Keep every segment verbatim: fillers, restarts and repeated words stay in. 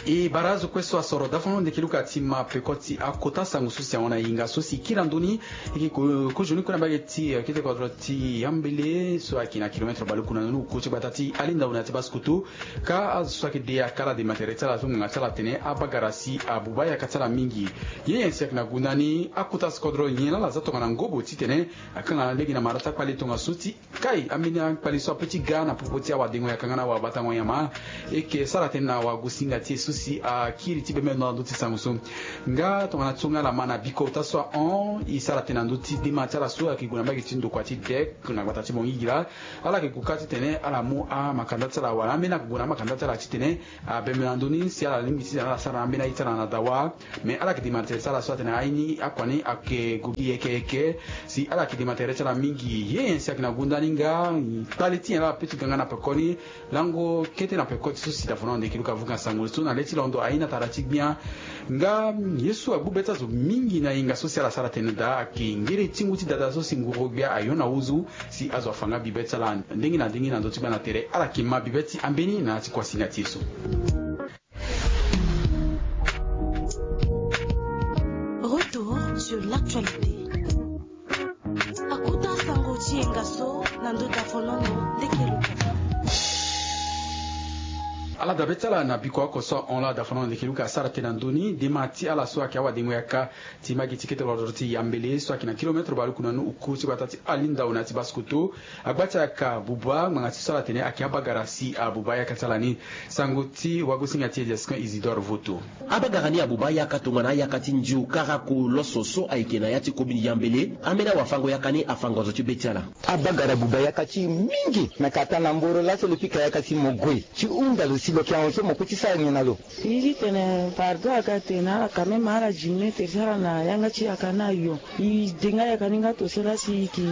E bara azo kue so asoro dafono ndeke luka ti ma peko ti akota sango so si ahon na hinga so si kiri na ndö ni. E ke ko- kozoni kue na mbage ti eh, kete kodro ti yambele so ayeke na kilometre baluku na nunu ko ti gbata ti alinda ona ti baskoto. Ka azo so ayeke de akala de matere ti ala so ngbanga ti ala atene abagara si abuba yaka ti ala mingi. Ye nyen si ayeke na gunda ni akota si kodro nyen laa ala za tongana ngobo titene akanga na lege na mara ti akpale tongaso ti kai ambeni akpale so ape ti ga na popo ti awadengo yaka nga na awabatango nyama. E ke sara tënë na wagosinga ti e so si akiri ti bembe ndo na ndö ti sango so. Nga tongana ti so nga ala ma na biko ota so ahon e sara tënë na ndö ti dema ti ala so ayeke gue na mbage ti ndokua ti dek na gbata ti bongigila. Ala yeke gue kâ titene ala mu amakanda ti ala wala ambeni ayeke gue na amakanda ti ala titene abembe na ndö ni si ala lingbi titene ala sara na ambeni aye ti ala na dawa. Me ala yeke demande tere ti ala so atene aye ni akua ni ayeke gue gi yeke yeke. Si ala yeke demande tere ti ala mingi ye nyen si ayeke na gunda ni nga kpale ti nyen laa ape ti ga nga na peko ni. Lango kete na peko ti so si dafono ndeke luka vuka sango so na le ti londo aye ni atara ti gbia. Nga ye so agbu be ti azo mingi na hinga so si ala sara tene daa ayeke ngere ti ngu ti dada so si nguru gbia ayo na huzu. Si azo afa nga bibe ti ala ndenge na ndenge na ndö ti gbia na tere ala yeke ma bibe ti ambeni na ya ti kuasinga ti e so. Retour sur l'actualité. Akuta sango ti yenga so na ndo dafonono ndeke luka. Ala dabe ti ala na biko oko so ahon laa dafonono ndeke luka asara tënë na ndö ni dema ti ala so ayeke awadengo yaka ti mbage ti kete kodro ti yambele so ayeke na kilometre baluku na nu uku ti gbata ti alinda ona ti baskoto. Agba ti ayaka buba ngbanga ti so ala tene ayeke abagara si abuba yaka ti ala ni. Sango ti wagosinga ti e Jesquin Isidore Voto. Abagara ni abuba yaka tongana ayaka ti ndio karako loso so ayeke na ya ti komine yambele. Ambeni awafango yaka ni afango zo ti be ti ala. Abagara buba yaka ti e mingi na kata na mboro laso lo pika yaka ti mo gue ti hunda lo si lo yeke ahon so mo kue ti sara nyen na lo. Ni ti tene pardon aga tene ala quand même ala diminuer tere ti ala na yanga ti yaka ni ayo. E de nga yaka ni nga to so laa si e ke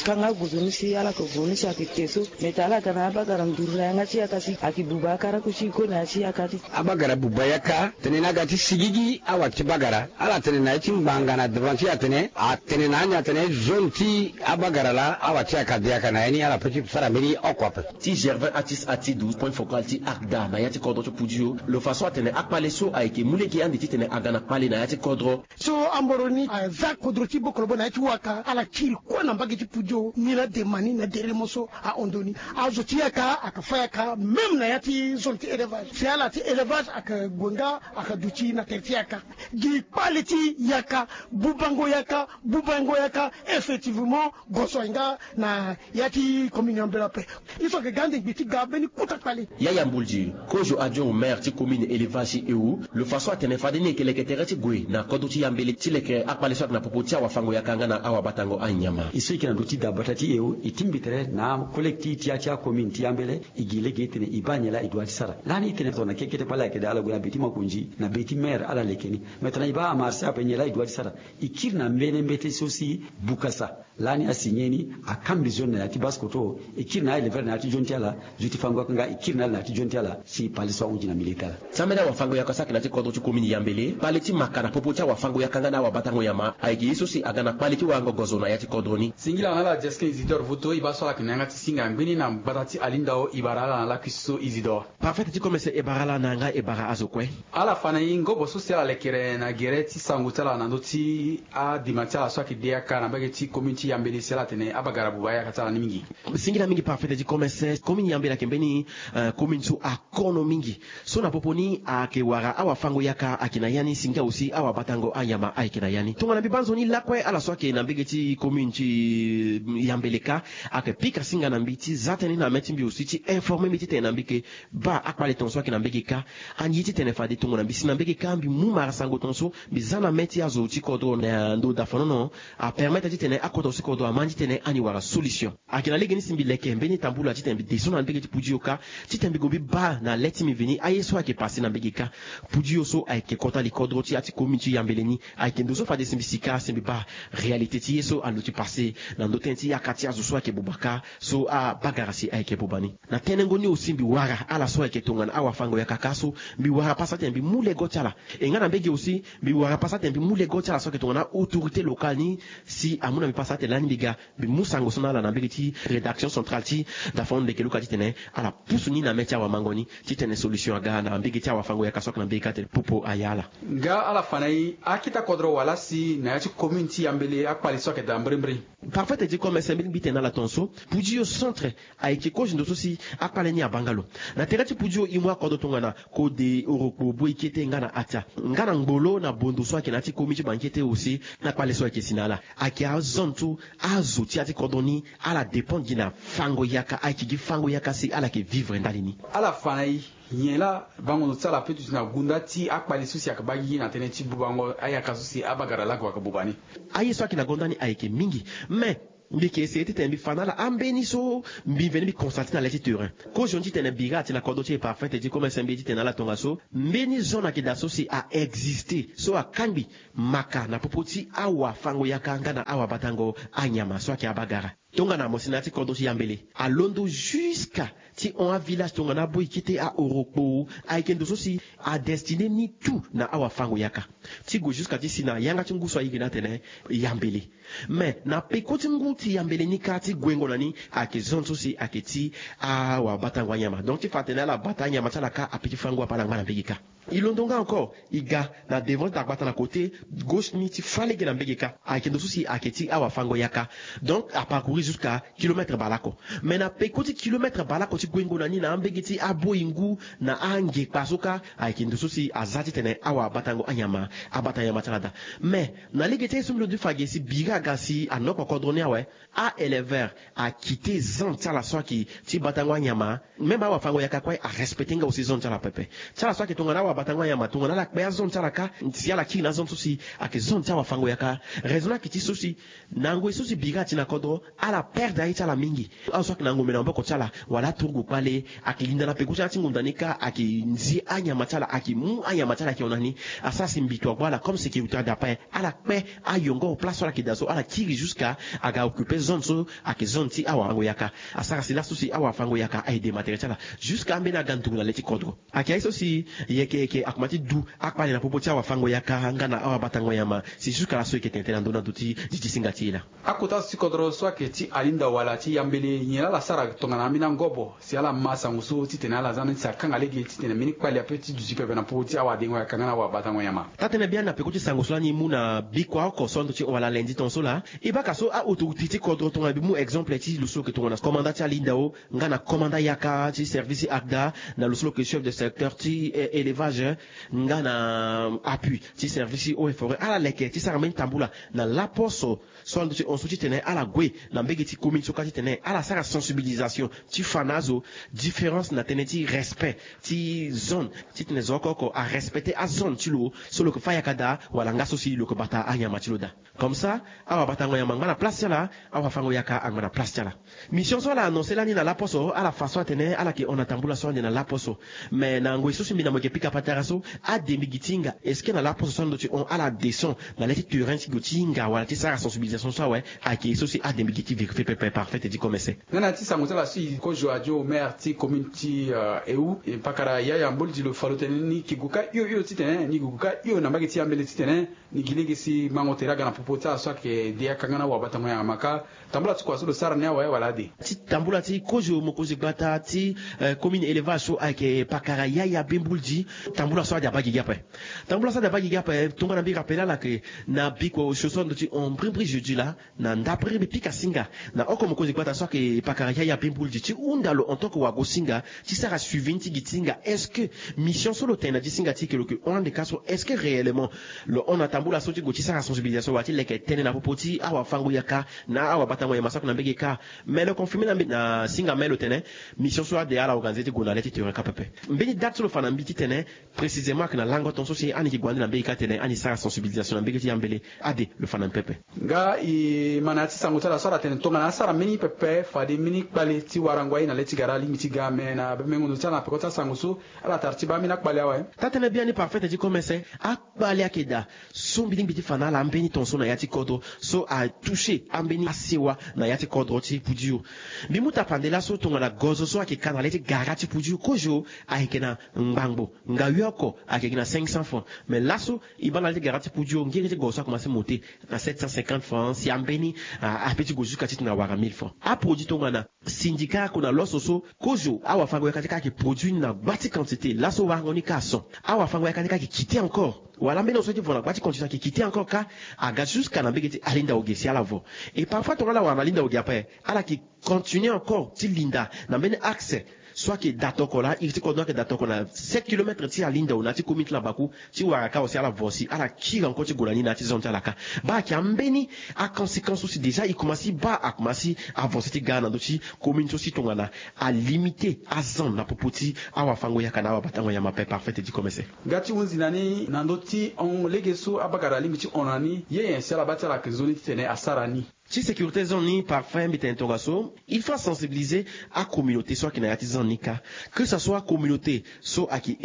ka nga gozo ni si ala yeke gue ni si ayeke te so. Me tene ala ga na abagara nduru na yanga ti yaka si ayeke buba akarako ti e kue na ya ti yaka ti. Abagara buba yaka tene na aga ti sigigi awa ti bagara ala tene na ya ti ngbanga na devant ti e atene atene na ani atene zone ti abagara laa awa ti yaka de yaka na ya ni ala pe ti sara mbeni oko ape. Ti Gervin Atis Atidu point focal ti ACDA na ya ti kodro ti Poudio lo fa so atene akpale so ayeke mu lege ande titene aga na kpale na ya ti kodro. So amboro ni aza kodro ti bokolobo na ya ti waka ala kiri kue na mbage ti Poudio ni laa dema ni na deremo so ahon ndo ni. Azo ti yaka ayeke fa yaka même na ya ti zone ti élevage si ala ti élevage ayeke gue nga ayeke duti na tere ti yaka. Gi kpale ti yaka bubango yaka bubango yaka effectivement goso aye nga na ya ti commune ambela ape. Ye so ayeke ga ande ngbi ti ga mbeni kota kpale. Yaya Mboldi kozo adjoint au maire ti commune élevage ti Ewo lo fa so atene fade ni e yeke leke tere ti gue na kodro ti yambele ti leke akpale so ayeke na popo ti awafango yaka nga na awabatango anyama. E so e yeke na ndö ti dabata ti Ewo e tingbi tere na akolekti ti ya ti acommune ti yambele. E gi lege e tene e baa nyen laa e dua ti sara lani e tene tongana kekete kpale ayeke daa ala gue na be ti makonzi na be ti maire ala leke ni. Me tongana e baa amarché ape nyen laa e dua ti sara. E kiri na mbeni mbeti so si bukasa lani asigné ni akambi zone na ya ti baskoto. E kiri na aéleveur na ya ti zone ti ala zo ti fango yaka nga e kiri na ala na ya ti zone ti ala si pale so ahunzi na milieu ti ala. Ti ambeni awafango yaka so ayeke na ya ti kodro ti komini yambele pale ti maka na popo ti awafango yaka nga na awabatango nyama ayeke ye so si aga na kpale ti warango gozo na ya ti kodro ni. Singila na ala Jesquin Isidore Voto e baa so ala yeke na yanga ti singa ngbeni na gbata ti alindao e bara ala na lakui so Isidore. Parfait ti komese e bara ala na yanga e bara azo kue. Ala fa na e ngobo so si ala lekere na gere ti sango ti ala na ndö ti adema ti ala so ayeke de yaka na mbage ti commune ti yambele si ala tene abagara buba yaka ti ala ni mingi. Singila mingi parfait ti komese commune yambele ayeke mbeni eh, commune so akono mingi so na popo ni ayeke wara awafango yaka ayeke na ya ni si nga aussi awabatango anyama ayeke na ya ni tongana mbi baa nzoni lakue ala so ayeke na mbage ti commune ti eh, yambele kâ ayeke pika singa na mbi ti za tënë na mê ti mbi aussi ti informer mbi titene na mbi yeke baa akpale tongaso ayeke na mbege kâ. Ande ye titene fade tongana mbi si na mbege kâ mbi mu mara sango tongaso mbi za na mê ti azo ti kodro na ndö dafonono apermettre titene akota so ti kodro ama ni titene ani wara solution. Ayeke na legeni si mbi leke mbeni tambula titene mbi de so na mbege ti Poudio kâ titene mbi gue mbi baa na le ti mbi veni aye so ayeke pase na mbege kâ. Poudio so ayeke kota li kodro ti ya ti commune ti yambele ni. Ayeke ndo so fade si mbi si kâ si mbi baa réalité ti ye so aluti pase na ndö tënë ti yaka ti azo so ayeke buba kâ. So abagara si ayeke buba ni. Na tenengo ni aussi mbi wara ala so ayeke tongana awafango yaka kâ so mbi wara pasa tene mbi mu lego ti ala. E nga na mbege aussi mbi wara pasa tene mbi mu lego ti ala so ayeke tongana autorité locale ni si amu na mbi pasa. Tene lani mbi ga, mbi mu sango so na ala na mbege ti rédaction centrale ti Dafon Ndeke Luka titene ala pusu ni na mê ti awamango ni titene solution aga na mbege ti awafango-yaka so ayeke na mbege kâ tene popo aya ala. Nga ala fa na e, akita kodro wala si na ya ti commune ti Yambele akpali so ayeke daa mbirimbiri. Parfait ti e ti commerce mbi lingbi tene na ala tongaso, Pudio centre ayeke kozo ndo so si akpale ni abaa nga lo. Na tere ti Pudio e mu akodro tongana kode, orokpo, Boikete nga na Atia, nga na Ngbolo na Bondo so ayeke na ya ti commune ti Bankete aussi, na kpale so ayeke si na ala. Ayeke azone so azo ti ya ti kodro ni ala dépend gi na fango-yaka, ayeke gi fango-yaka si ala yeke vivre ndali ni. Ala fa na e, nyen laa bango ndo ti ala apeut ti duti na gunda ti akpali so si ayeke baa gi na tënë ti bubango ayaka so si abagara lago ayeke buba ni. Aye so ayeke na gonda ni ayeke mingi. Mais mbi yeke essayer titene mbi fa na ala ambeni so mbi veni mbi constater na le ti terrain. Kozo ni titene bira ti na kodro ti e Parfait ti e ti commerce mbi titene na ala tongaso, mbeni zone ayeke daa so si a exister so akangbi maka na popo ti awafango-yaka nga na awabatango anyama so ayeke abagara. Tongana mo si na ya ti kodro ti Yambele alondo jusqu'à ti hon avillage tongana Boikete, a-Orokpo, ayeke ndo so si adestiné ni tout na awafango-yaka. Ti gue jusqu'à ti si na yanga ti ngu so ayeke ni atene Yambele. Mais na peko ti ngu ti Yambele ni kâ ti guengo na ni ayeke zone so si ayeke ti awabatango anyama. Donc ti fa atene ala bata anyama ti ala kâ apeut ti fâ ngu ape ala ngba na mbege kâ. E londo nga encore, e ga na devant ti dagbata na côté gauche ni ti fâ lege na mbege kâ. Ayeke ndo so si ayeke ti awafango-yaka. Donc a parcourir jusqu'à kilomètre bale oko. Mais na peko ti kilomètre bale oko ti guengo na ni na ambege ti aboi ngu na angekpa so kâ, ayeke ndo so si aza titene awabatango anyama abata nyama ti ala daa. Mais na lege ti aye so mbi londo ti fa ge si bira aga si anoko kodro ni awe, a-éleveur akite zone ti ala so ayeke ti batango anyama. Même awafango-yaka kue arespecter nga aussi zone ti ala pepe. Ti ala so ayeke tongana awabatango anyama, tongana ala kpe azone ti ala kâ, si ala kiri na azone so si ayeke zone ti awafango-yaka. Raison ni ayeke ti so si na ngoi so si bira ti na kodro, ala perdre aye ti ala mingi. Azo so ayeke na ngombe na maboko ti ala wala aturugu kpale ayeke linda na peko ti ala ti ngonda ni kâ, ayeke nzi anyama ti ala, ayeke mu anyama ti ala ayeke hon na ni. Asara si mbi to agbu ala comme sécurité ade ape. Ala kpe ayongo place so ala yeke daa so, ala kiri jusqu'à aga occuper zone so ayeke zone ti awafango-yaka. Asara si laso si awafango-yaka a-aider matériel ti ala jusqu'à ambeni aga nduru na le ti kodro. Ayeke aye so si yeke yeke akoma ti du akpale na popo ti awafango-yaka nga na awabatango nyama. Si jusqu'à laso e yeke tene tënë na ndö na ndö ti di ti singa ti e laa. Akota so ti kodro so ayeke ti alinda wala ti Yambele, nyen laa ala sara tongana ambeni angobo si ala ma sango so titene ala za ni si akanga lege titene mbeni kpali ape ti duti pepe na popo ti awadengo-yaka nga na awabatango nyama? Taa-tënë biani na peko ti sango so lani e mu na bikua oko so ando ti hon wala lundi tongaso laa, e baka so a-autorité ti kodro tongana mbi mu exemple ti lo so lo yeke tongana commandant ti alindao nga na commandant yaka ti service ti ACDA, na lo so lo yeke chef de secteur ti, eh, élevage, nga na appui ti service ti eaux et forêts, ala leke ti sara mbeni tambula na laposo so ando ti hon so titene ala gue na mbege ti commune so kâ titene ala sara sensibilisation ti fa na azo différence na tënë ti respect ti zone, titene zo oko oko arespecter azone ti lo so lo yeke fâ yaka daa wala nga so si lo yeke bata anyama ti lo daa. Comme ça, awabatango nyama angba na place ti ala, awafango-yaka angba na place ti ala. Mission so ala annoncer lani na laposo, ala fa so atene ala yeke hon na tambula so ande na laposo. Mais na ngoi so si mbi na mo yeke pika patara so, ade mbi gi ti hinga, est-ce que na laposo so ando ti hon ala descend na le ti terrain ti gue ti hinga wala ti sara sensibilisation so awe? Ayeke so si ade mbi gi ti vérifier pepe, Parfait ti e ti commerce. Nga na ya ti sango ti ala so e kozo adio maire ti commune ti, euh, Ewu, e pakara Yaya Mboldi, lo fa lo tene ni yeke gue kâ hio hio titene ni yeke gue kâ hio na mbage ti Yambele titene ni gi lege si mango tere aga na popo ti ala so ayeke de yaka nga na awabatango nyama kâ. Tambula ti kua so lo sara ni awe wala ade? Ti tambula ti kozo mokonzi gbata ti, eh, commune élevage so ayeke pakara Yaya Bemboldi. Tambula so ade abaa gigi ape. Tambula so ade abaa gigi ape, tongana mbi rappelle ala ke na bikua osio so ando ti hon mbirimbiri jeudi laa, na ndapere mbi pika singa na oko mokonzi gbata so ayeke pakara Yaya Bemboldi ti hunda lo en tant que wago-singa ti sara suivi ni ti gi ti hinga. Est-ce que mission so lo tene na gi ti singa ti e ke lo yeke hon ande kâ so, est-ce que réellement lo hon na tambula so ti gue ti sara sensibilisation wala ti leke tënë na popo ti awafango-yaka na awabatango nyama so ayeke na mbege kâ? Mais lo confirmer na mbi na singa même lo tene mission so ade ala organiser ti gue na le ti terrain kâ pepe. Mbeni date so lo fa na mbi titene précisément ayeke na lango ton so si ani yeke gue ande na mbege kâ tene ani sara sensibilisation na mbege ti Yambele, ade lo fa na mbi pepe. Nga e ma na ya ti sango ti ala so ala tene Tongana asara mbeni pepe fade mbeni kpale ti warango aye na le ti gara alingbi ti ga me na bemengo ndo ti ala na peko ti asango so. Ala tara ti baa mbeni akpale awe. Taa-tënë biani parfait ti komese. Akpale ayeke daa so mbi lingbi ti fa na ala ambeni tongaso na ya ti kodro so atoucher ambeni asewa na ya ti kodro ti pudio. Mbi mu tapande laso tongana gozo so ayeke ka na le ti gara ti pudio kozo ayeke na ngbangbo ngayo oko ayeke gi na cinq cents francs. Mais laso e baa na le ti gara ti pudio ngiri ti gozo so akomanse monte na sept cent cinquante francs si ambeni ape ti go jusqu'à titene awara mille francs. Aproduit tongana sindika ako na loso so kozo awafango yaka ti ka ayeke produit ni na gba ti quantité laso warango ni ka ason. Awafango yaka ni ka ayeke kite encore wala mbeni oso ti vo na gba ti quantité ayeke kite encore ka. Aga jusqu'à na mbege ti alinda oge si ala vo. Et parfois tongana ala wara na alinda oge après ala yeke continuer encore ti linda na mbeni axe so ayeke da toko laa iri ti kodro ayeke da toko na sept kilomètre ti alinda o na ya ti commune ti labaku ti wara ka aussi ala vo si ala kiri encore ti gue na ni na ya ti zone ti ala ka. Baa ayeke ambeni aconséquence so si déjà e komanse baa akomanse avancer ti ga na ndö ti commune so si tongana alimiter azone na popo ti awafango yaka na awabatango nyama ape parfait ti komese. Ga ti hunzi na ni na ndö ti hon lege so abagara alingbi ti hon na ni ye nyen si ala baa ti ala yeke nzoni titene asara ni. Ti sécurité zone ni parfait mbi tene tongaso il faut asensibiliser acommunauté so ayeke na ya ti zone ni ka. Que ça soit acommunauté so ayeke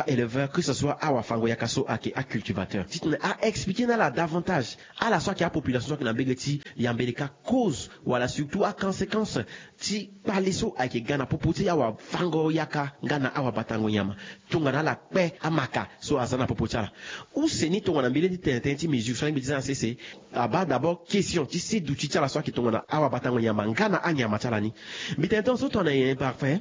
éleveur que ça soit awafango yaka so ayeke acultivateur titene aexpliquer na ala davantage ala so ayeke apopulation so ayeke na mbege ti yambele ka cause wala surtout aconséquence ti kpale so ayeke ga na popo ti awafango yaka nga na awabatango nyama. Tongana ala kpe amaka so aza na popo ti ala use ni tongana mbi leni ti tene tënë ti mesure so alingbi ti za na sese. Abaa d'abord question ti se duti ti ala so ayeke tongana awabatango nyama nga na anyama ti ala ni. Mbi tene tongaso tongana nyen parfait.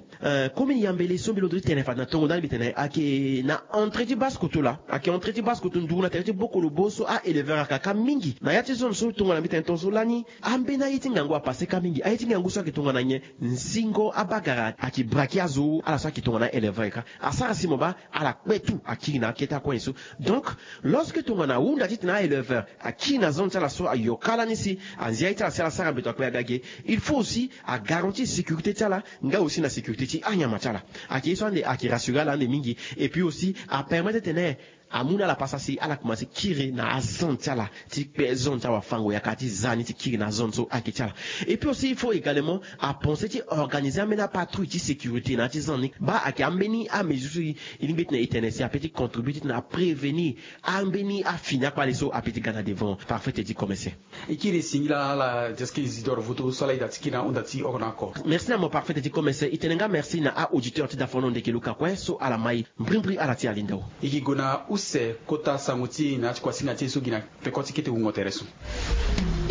Komi yambele so mbi londo ti tene fade na tongo ndali mbi tene ayeke na entrée ti base koto laa ayeke entrée ti base koto nduru na tere ti bokolobo so aéleveur ayaka ka mingi na ya ti zone so tongana mbi tene tongaso lani. Ambeni aye ti ngangu apase ka mingi aye ti ngangu so ayeke tongana nyen? Nzingo abagara ayeke braki azo ala so ayeke tongana éleveur ka asara si mo baa ala kpe tout akiri na akete akoin so. Donc lorsque tongana ahunda titene aéleveur akiri na zone ti ala so ayo ka lani si anzia ye ti ala si ala sara mbeto akpe aga ge. Il faut aussi agarantir sécurité ti ala nga aussi na sécurité ti anyama ti ala. Ayeke ye so ande ayeke rassurer ala ande mingi. Et puis aussi apermettre titene amu na ala pasa si ala komanse kiri na azone ti ala ti kpe zone ti awafango yaka ti za ni ti kiri na zone so ayeke ti ala. Et puis aussi il faut également apenser ti organiser ambeni apatrouille ti sécurité na ya ti zone ni baa ayeke ambeni amesure so e lingbi titene e tene si ape ti contribuer titene aprévenir ambeni afini akpale so ape ti ga na devant parfait ti komese. E kiri e singila na ala diaski isidore vutu so ala ita ti kiri na ahunda ti oko na oko. Merci na mo parfait ti komese e tene nga merci na auditeur ti dafono ndeke luka kue so ala mai mbrimbri ala ti alinda o. E gi gue na use kota sango ti e na ya ti kuasinga ti e so gi na peko ti kete wungo tere so.